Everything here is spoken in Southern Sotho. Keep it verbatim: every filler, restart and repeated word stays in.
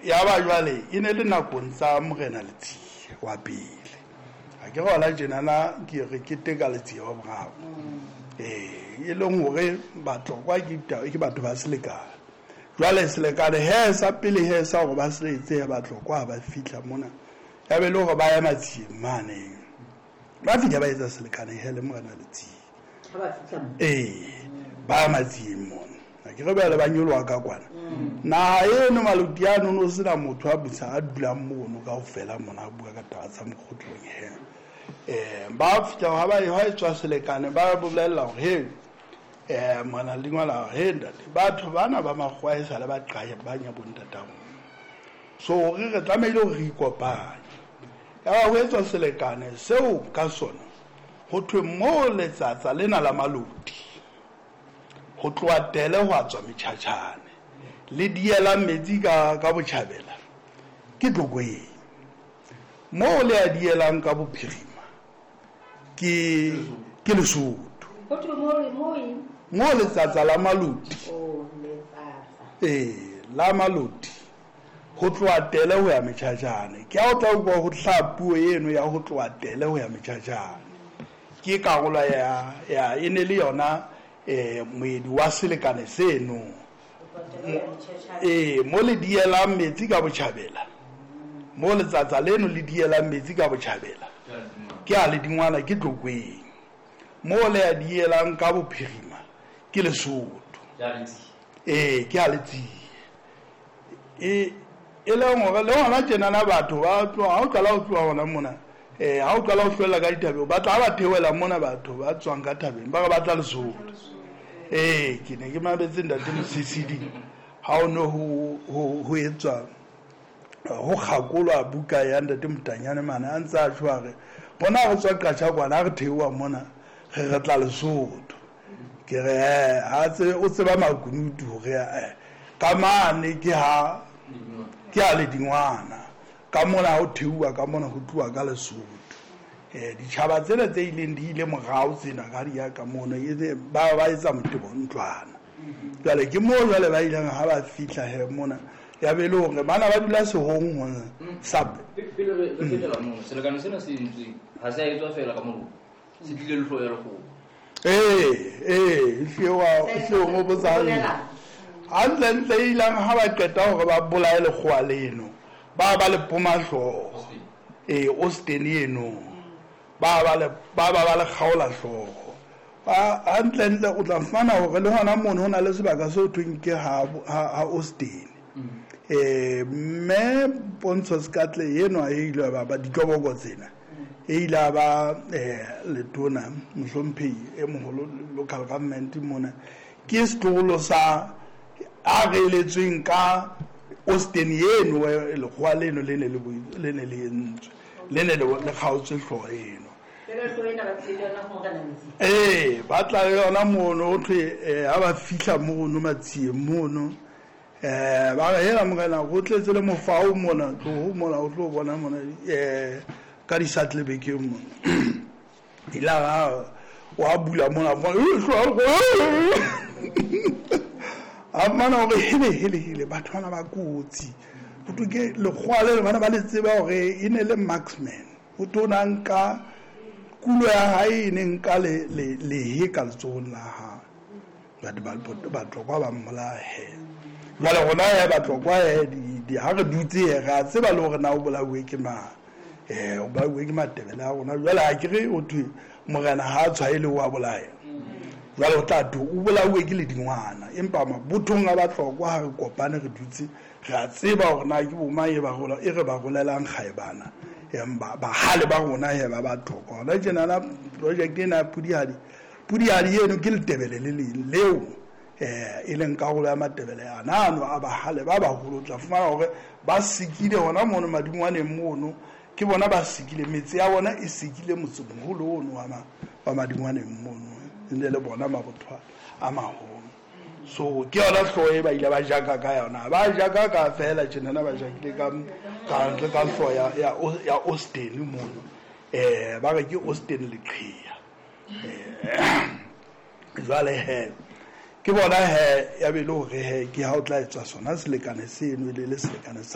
Ya ba jwale e ne le nakong tsa Morena Letsie wa pele. Ha ke re tjenana ke re keteka Letsie wa boraro. Eh, e leng hore Batlokwa ke ke batho ba selekane. Jwale selekane he sa pele he sa hore ba se etse Batlokwa ba fihla mona. Ya be le hore ba ya Matsieng mane. Ba fihla ba etsa selekane he le Morena Letsie. Ha ba fihla mo. Eh, ba Matsieng mona. Ha ke re ba le ba nyoloha ka kwana. Naha eno Maloti ano no sena motho a busa a dulang mono kaofela mona a bua ka taba tsa mokgotlong he. Eh, ba fihla ha ba ha etswa selekane ba bolella hore he eh mona lengwala he ntate batho bana ba makgowa e sale ba qaya ba nya bontatao. So re re tlamehile hore re ikopanye. Ya ba ho etswa selekane seo ka sona ho thwe mo letsatsa lena la Maloti ho tloha Tele ho a tswa Metjhatjhane le diela metsi ka ka botjhabela ke Tlokweng, mo le a dielang ka bophirima ke ke Lesotho. Ho thwe mo mo eng? Mo letsatsa la Maloti. Oh, letsatsa. Eh, la Maloti ho tloha Tele ho ya Metjhatjhane. Ke ha o tla utlwa ho hlaha puo eno ya ho tloha Tele ho ya Metjhatjhane. Ke karolo ya ya e ne le yona eh moedi wa selekane seno. Eh, mo le dielang metsi ka botjhabela. Mo letsatsa leno le dielang metsi ka botjhabela. Ke a le dingwana ke Tlokweng. Mo le a dielang ka bophirima ke Lesotho. Eh, ke a Letsie. E e le hore le hona tjenana batho ba tloha ha o qala ho tloha hona mona eh ha o qala ho hlwella ka dithabeng ba tla ba theohela mona batho ba tswang ka thabeng ba re batla Lesotho. Eh, ke ne ke mametse ntate Mosisili ha o no ho ho ho etswa ho kgakolwa buka ya ntate Motanyane mane a ntse a tjho a re bona re tswa Qacha kwana re theoha mona re re tla Lesotho. Ke re eh ha tse o tseba makunutu hore eh ka mane ke ha ke a le dingwana ka mona ho theoha ka mona ho tloha ka Lesotho. Eh ditjhaba tsena tse ileng di ile morao tsena ka di ya ka mona e ba ba etsa motebo ntlwana. Jwale ke mo jwale ba ileng ha ba fihla he mona ya be le hore bana ba dula sehong hona sa pele re re fetela mo selekane sena se entsweng ha se a etswa fela ka moloko se tlile le hloya lekgowa. Eh eh hlewa hlewa mo botsa hantle ntle ilang ha ba qeta hore ba bolaye lekgowa leno ba ba le poma hlooho eh Austin eno ba ba le ba ba ba le kgaola hlooho ba hantle ntle o tla fumana hore le hona mono hona le sebaka seo thweng ke ha ha Austin. Eh mme Pontsho Sekatle eno e ile ba ba ditloboko tsena e ile ba eh letona mohlomphehi e moholo local government mona ke setloholo sa a reletsweng ka Austin eno lekgowa leno le ne le le ne le entswe le ne le kgaotswe hlooho eno. Eh ba tla le yona mono ho thwe ha ba fihla mono Matsieng mono eh ba re hela morena ho tletse le mofao mona tlo mona o tlo bona mona eh ka di satlebekeng mona ila ha wa bula mona a mana hore hele hele hele batho bana ba kotsi ho thwe ke lekgowa le bana ba le tseba hore e ne le marksman ho tona nka kulo ya hae e ne nka le le lehe ka letsohong la hae batho ba Batlokwa ba mmolahe. Jwale rona he Batlokwa he di ha re dutse re a tseba le hore na o bolauwe ke mang eh o bolauwe ke Matebele a rona. Jwale ha ke re o thwe morena ha a tshwaele o a bolaya jwale o tla thwe o bolauwe ke ledingwana empa mabothong a Batlokwa ha re kopane re dutse re a tseba hore na ke bo mang e ba rola e re ba rolelang kgaebana empa bahale ba rona he ba Batlokwa. Hona tjenana project ena ya Pudihadi Pudihadi eno ke letebele le leng leo eh e leng karolo ya Matebele ana ano a bahale ba baholo tla fumana hore ba sikile hona mono madingwaneng mono ke bona ba sikile metse ya bona e sikile motsemoholo ono wa wa madingwaneng mono ne le bona mabotho a maholo. So ke yona hlooho e ba ile ba jaka ka yona ba jaka ka fela tjenana ba jakile ka ka ka hlooho ya ya ya Austin mono eh ba re ke Austin Leqhia eh jwale he ke bona he ya be le hore he ke ha o tla etswa sona selekane seno e le le selekane sa